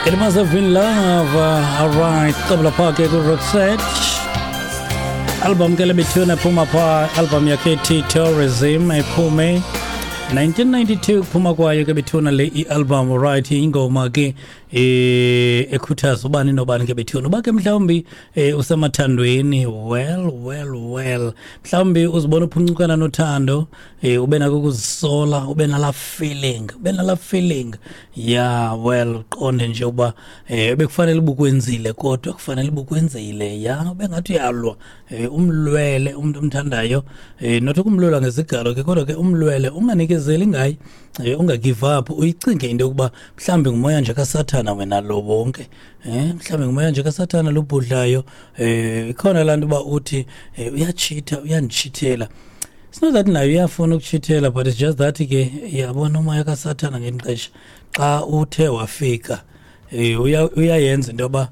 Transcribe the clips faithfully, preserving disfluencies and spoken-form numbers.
It must have been love. Alright, qabla pha ke ku-Roxette. Album ke lebethuna ephuma pha, album yakhe ethi Tourism ephume nineteen ninety-two, kuphuma kwayo ke bethuna le i-album. Right, ingoma ke eh ekhuthaza ubani nobani ke bethuna uba ke mhlawumbi eh usemathandweni, well well well mhlawumbi uzibona uphuncukana nothando, eh ube nako ukuzisola, ube nala feeling ube nala feeling yeah, well, uqonde nje uba eh bekufanele ubukwenzile, kodwa kufanele ubukwenzile, yeah, ube ngathi uyalwa, eh umlwele umuntu omthandayo, eh not ukumlwela ngezigalo ke, kodwa ke umlwele, unganikezeli ngaye, eh unga-give up, uyicinge into yokuba mhlawumbi ngumoya nje kaSathana wena lo wonke, eh mhlawumbi ngumoya nje kaSathana lobhudlayo. eh ikhona laa nto uba uthi eh, uyachitha, uyandichithela. It's not that nayo uyafuna ukuchithela, but it's just that ke yabona umoya kaSathana ngenixesha xa uthe wafika, eh uyayenza into yoba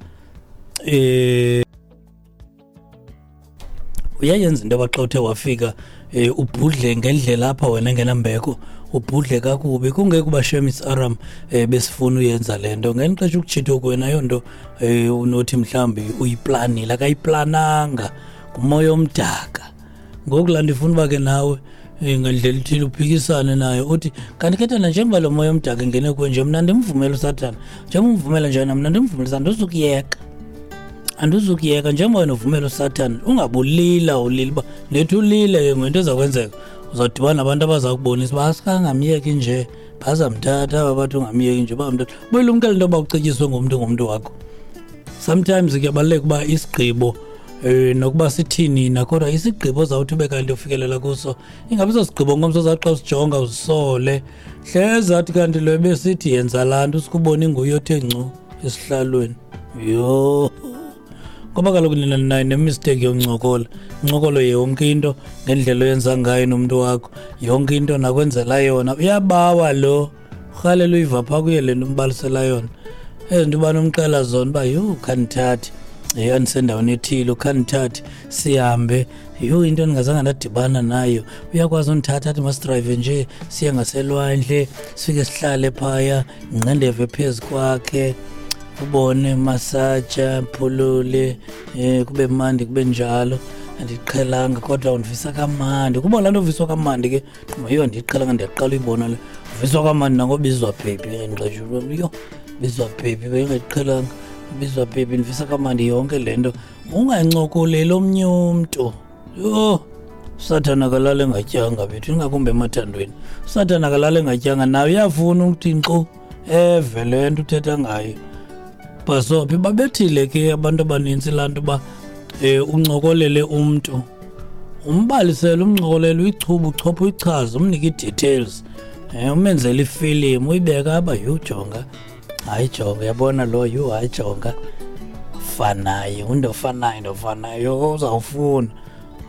eh uyayenza into yoba xa uthe wafika eh ubhudle ngendlela apha wena engenambeko, ubhudle kakubi, kungeke uba shemis aram eh besifuna uyenza le nto ngenixesha ukuchitha kwena ayonto eh unothi mhlawumbi uyiplanile, akayiplananga, ngumoya omdaka. Ngoku laa nto ifuna uba ke nawe ngendlela ithile uphikisane nayo, uthi kanti ke thina njengoba lo moya omdaka engene kuwe nje, mna ndimvumela uSathana, njengoba umvumela nje mna ndimvumela, andizukuyeka andizukuyeka njengoba wena uvumela uSathana. Ungabulila ulila uba nethi ulile ke ngento ezakwenzeka, uzawudibana nabantu abaza kubonisa uba asikangamyeki nje, bazamthatha aba bathi ungamyeki nje, bamthatha. Buyilumkele into yoba ucetyiswe ngumntu ngumntu wakho. Sometimes kuyabaluleka uba isigqibo eh nokuba sithini na, kodwa isigqibo ozawuthi ube kanti ufikelela kuso ingabi sosigqibo ngomso ozawuthi xa usijonga uzisole, hleze athi kanti lo ebesithi yenza laa nto usikubona inguye othe ngcu esihlalweni. Yho, ngoba kaloku nina ninayo nemistake yoncokola, incokolo yonke into ngendlela oyenza ngayo nomntu wakho, yonke into nakwenzela yona uyabawa lo, urhalela uyiva phaa kuye le nto umbalisela yona, ezi nto ubana umxela zona uba yho khandithathe, yho andisendaweni ethile, ukhandithathe sihambe, yho into endingazange ndadibana nayo, uyakwazi undithatha athi masidrayive nje siye ngaselwandle, sifike sihlale phaya, ngqendeve phezu kwakhe, ubone masaja, phulule, eh kube mandi, kube njalo. Andiqhelanga kodwa undivisa kamandi. Kuba laa nto uviswa kamandi ke, yho andiyiqhelanga, ndiyaqala uyibona le. Uviswa kamandi nangobizwa baby, ngexesha yho bizwa baby, bengayiqhelanga, bizwa baby, ndivisa kamandi yonke le nto. Ungancokoleli omnye umntu. Yho, uSathana akalali engatyanga bethu, ingakumbi emathandweni. uSathana akalali engatyanga, naye uyafuna ukuthi nkqu eve le nto uthetha ngayo. Bhasophi babethile ke abantu abanintsi laa nto uba eh uncokolele umntu, umbalisele, umncokolele, uyichuba, uchophe, uyichaze, umnike ii-details, eh umenzele ifilimu, uyibeke apha, yho jonga, hayi jonga, uyabona lo, yho hayi jonga, fanayo, umntu ofanayo, ndofanayo, uzawufuna,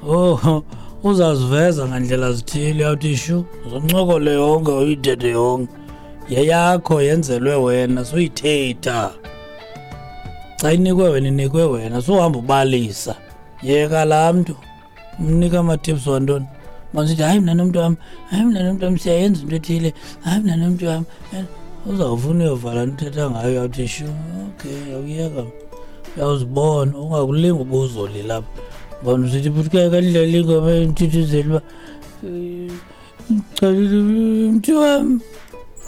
oh uzaziveza ngandlela zithile, uyawuthi shu, uzoncokole yonke, uyithethe yonke, yeyakho yenzelwe wena, suyithetha. Xa inikwe wena, inikwe wena, suhamba ubalisa. Yeka laa mntu, umnika ama-tips wantoni. Masithi hayi mna nomntu wam, hayi mna nomntu wam siyayenza into ethile, hayi mna nomntu wam. Uzawufuna uyovala nto uthetha ngayo, uyawuthi shu, okay, uyawuyeka. Uyawuzibona, ungakulingi uba uzolila apha. Bona usithi futhi ke kandlela ingoma enthuthuzela uba mntu wam.